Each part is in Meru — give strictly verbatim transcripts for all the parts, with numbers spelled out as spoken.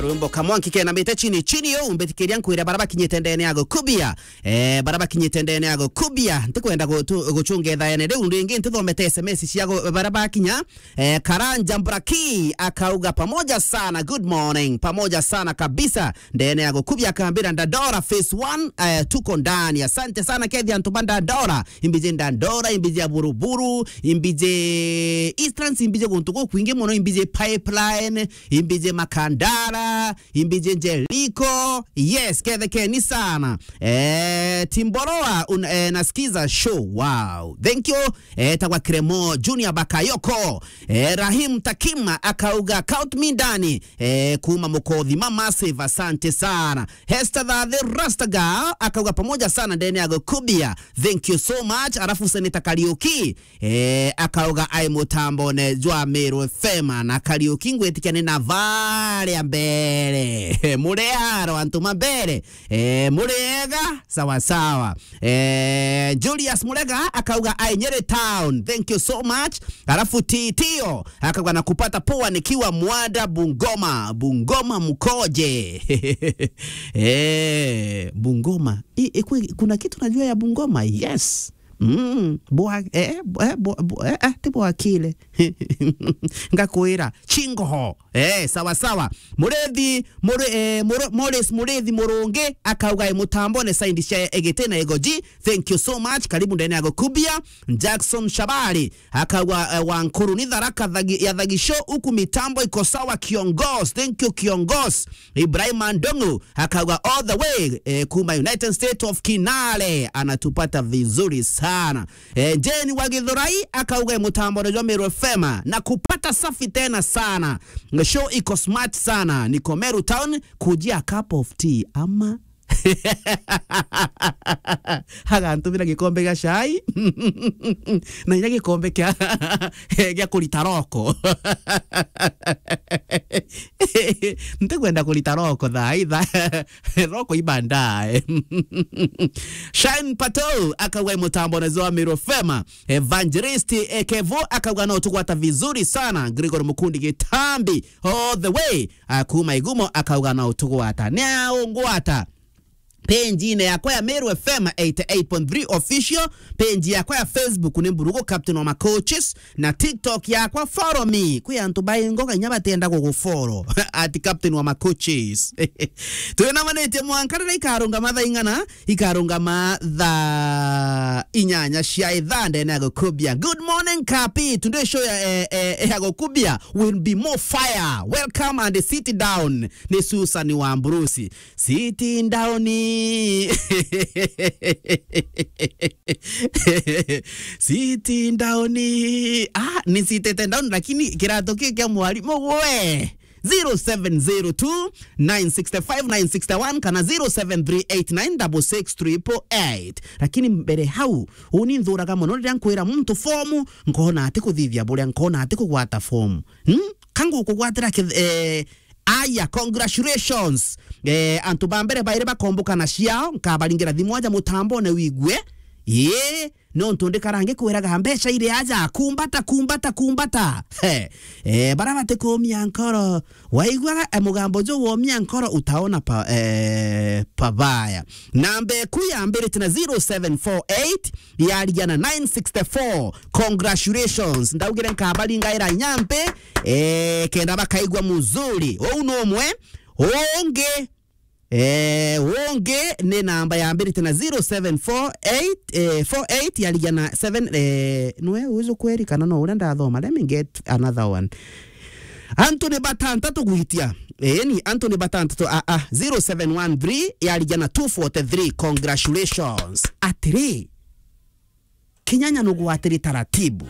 Rwimbo kamwanki kena mite chini chini yo, umbitikiria nkwire bara bakinyite ndene ya gukubia. Eh, bara bakinyite ndene ya gukubia. Ntikwenda gutu-, gucunga ithaene riu ringi, ntithomete S M S cia gu-, bara bakinya. Eh, Karanja Mbraki akauga, "Pamoja sana, good morning." Pamoja sana kabisa. Ndene ya gukubia akambira, "Ndandora phase one, eh, tuko ndani." Asante sana, kethi antu ba Ndandora. Imbiji Ndandora, imbiji ya Buruburu, imbiji Eastlands, imbiji guntu gukwingi muno, imbiji Pipeline, imbiji Makandara, imbiji Jericho. Yes, kethekeni sana. Eh, Timboroa, un-, eh, nasikiza show. Wow. Thank you. Eh, tagwa Kremo Junior Bakayoko. Eh, Rahim Takima akauga, "Count me ndani." Eh, kuma Mukothima Massive, asante sana. Hester Thathi Rastaga akauga, "Pamoja sana ndene ya gukubia." Thank you so much. Alafu Senator Kariuki, eh, akauga, "Ai mutambone jwa Meru F M na Kariuki ngwitikia ni na varia mbere." Muri aro antu ma mbere. Eh, muri ega? Sawa sawa. Eh, Julius Murega akauga, "Ai Nyeri town. Thank you so much." Alafu Titio akauga, "Nakupata poa nikiwa Mwada Bungoma." Bungoma mkoje? Eh, Bungoma. I, i, kwi-, kuna kitu najua ya Bungoma? Yes. Mm, bwa-, eh, bwa-, eh, bwa-, bwa-, eh, eh, ti bwakile. Ngakwira, chingoho. Eh, sawa sawa. Murithi, Muri-, eh, Muru-, Morris Murithi Murungi akauga, "E mutambone saindi cia Egete na Egoji." Thank you so much. Karibu ndene ya gukubia. Jackson Shabari akauga, eh, "Wankuru ni Tharaka thagi-, ya Thagisho, huku mitambo iko sawa, kiongozi." Thank you, kiongozi. Ibrahim Andongo akauga, "All the way, eh, kuma United States of Kinale." Anatupata vizuri sana. Eh, Jane wa Githurai akauga, "E mutambone jwa Meru F M, nakupata safi tena sana. Show iko smart sana. Niko Meru town, kujia cup of tea ama." Agantumira gikombe gia chai. Na inya gikombe kia, gia kurita roko. Ntikwenda kurita roko thaa itha. Roko ibandae. Shine Pato akauga, "E mutambone jwa Meru F M." Evangelist, eh, Kevo akauga, "No tugwata vizuri sana." Gregory Mukundi Gitambi all the way, ah, kuma Igumo akauga, "No tugwata." Ni aungwata page-ine yakwa ya Meru F M eighty-eight point three official, page yakwa ya Facebook ni Mburugu Captain wa Macoaches, na TikTok yakwa, follow me. Kwi antu baingoga inya batenda gugufollow at Captain wa Macoaches. Twinamanitie mwanka riria ikarungama thaa ing'ana, ikarungama thaa inyanya cia ithaa ndene ya gukubia. Good morning, Kapi. Today show ya, eh, eh, ya gukubia will be more fire. Welcome and sit down. Ni Susan wa Mburusi. Sitting down. Sitting down. Ah, ni sitting down, lakini kirato kiu kia mwarimu we. Zero seven zero two, nine six five, nine six one kana zero seven three eight nine double six triple eight. Lakini mbere hau, uni nthuraga mono riria nkwira muntu fomu, nkona ati kuthithia buria, nkona ati kugwata fomu. Hmm? Ka ngukugwatira kith-, eh, Aya, congratulations. Eh, antu ba mbere bairi bakomboka na ciao, nkabaringira thimu aja mutambone wigue. Ii, nontu ndikara ngikwiraga mbeca iri aja, kumbata, kumbata, kumbata. He. Eh, bara batikumia nkoro. Waigua, eh, mugambo ju womia nkoro, utaona pa-, eh, pabaya. Namba eku yambirite na zero seven four eight, yarigia na nine sixty-four. Congratulations. Ndaugire nkabaringaira nyambe, eh, kenda bakaigua muzuri. Ou no umwe. Ungi, eh, ungi ni namba yambirite na zero seven four eight, eh, four eight yarigia na seven, eh, nwe uju kweri kana no uria ndathoma? Let me get another one. Antu ni batantatu gwitia. Eeni, antu ni batantatu. A, a, zero seven one three yarigia na two forty-three. Congratulations. Atiri, kinyanya nugwatiri taratibu.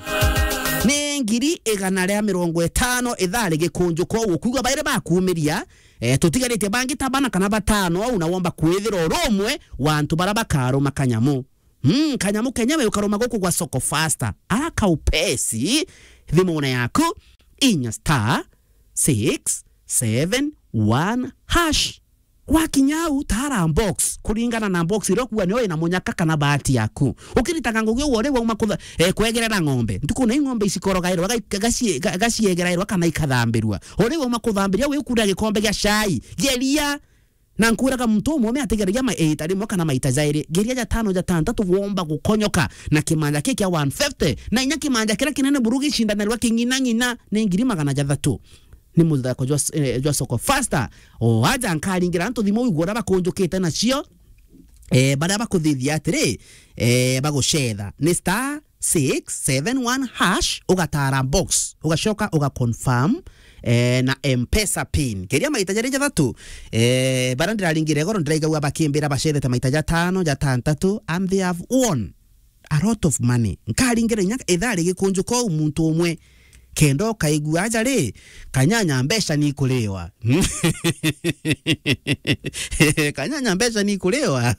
Ni ngiri igana ria mirongo itano ithaa rigikunjuka uguo, kuuga bairi bakuumiria, eh, tutigaritie bangi ta bana kana batano au, na womba kwithira uri umwe wa antu bara bakaruma kanyamu. Mm, kanyamu kenyewe ukaruma guku gwa Soko Fasta. Ara kaupesi, thimune yaku, inya star six seven one hash. Wakinya au, tara box, kuringana na box iria ukuga nio ina munyaka kana bahati yaku. Ukiritaga ngugi uguo, uri wauma kutha-, eh, kwegerera ng'ombe. Ntuku na ing'ombe icikorogairwa, ga-, gacie-, ga-, gaciegerairwa kana ikathambirua. Uri wauma kuthambiria, wikura gikombe gia cai, geria. Na nkwiraga muntu umwe atigeragia ma-, iita rimwe kana maita jairi. Geria jatano, jatantatu, womba gukonyoka na kimanja ki kia one fifty. Na inya kimanja kiria kinene buru gicindanirwa king'ina ng'ina ni ngiri magana jathatu. Ni muthako jwa s-, eh, jwa soko faster. O aja nkaringira antu thimu uigua uria bakunjukite nacio. Eh, baria bakuthithia atiri, eh, bagucetha. Ni star six seven one hash, ugatara box, ugacoka uga confirm, eh, na M-Pesa pin. Keria maita jari jathatu, eh, baria ndiraringire goro ndiraigagua bakimbira bacethete maita jatano, jatantatu, and they have won a lot of money. Nkaringire inya ithaa rigikunjuka uu muntu umwe. Kenda ukaigua aja ri, kanyanya mbeca ni ikuriwa. Kanyanya mbeca ni ikuriwa.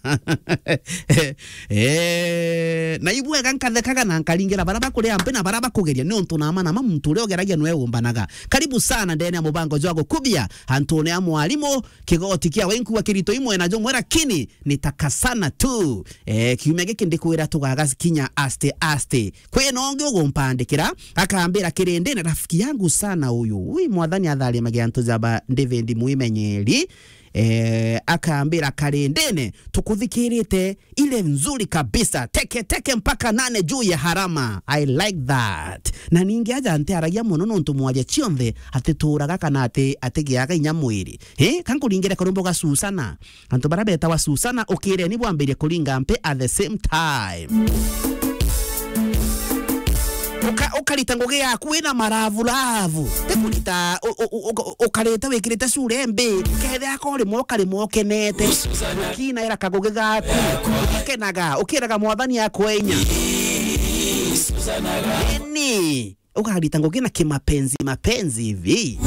Eh, na ibwega nkathekaga na nkaringira bara bakuria mpi na bara bakugeria, ni untu nama nama muntu uria ugeragia nwe umbanaga. Karibu sana ndene ya mubango jwa gukubia antune a mwarimu, kigoti kia wenku wa kirito imwe na jumwe, lakini nitakasana tu. Eh, kiumia giki ndikwira tugaga kinya aste aste. Kwina ungi ugumpandikira, akambira kirindine, rafiki yangu sana uyu. Ui, mwathani atharimage antu jaba, David Mwimenyeri. Eh, akambira karindine, tukuthikirite ile nzuri kabisa. Teke teke mpaka nane juu ya harama. I like that. Na ningi aja ntiaragia muno nontu mwaria cionthe atituraga kana ati-, atigiaga inya mwiri. Eh, kankuringire karumbo ga Susana. Antu bara betawa Susana, ukireni bwambirie kuringa mpi at the same time. Uka-, ukarita ngugi yaku wina maravuravu. Ti kurita u-, u-, u-, uka-, ukarita wikirite cure mbi. Kethe yako rimwe ukarimwe ukenete. Ukinaira kagugi gaku. Ukenaga, ukiraga mwathani akwe inya. Ni ukarita ngugi na kimapenzi, mapenzi hivi.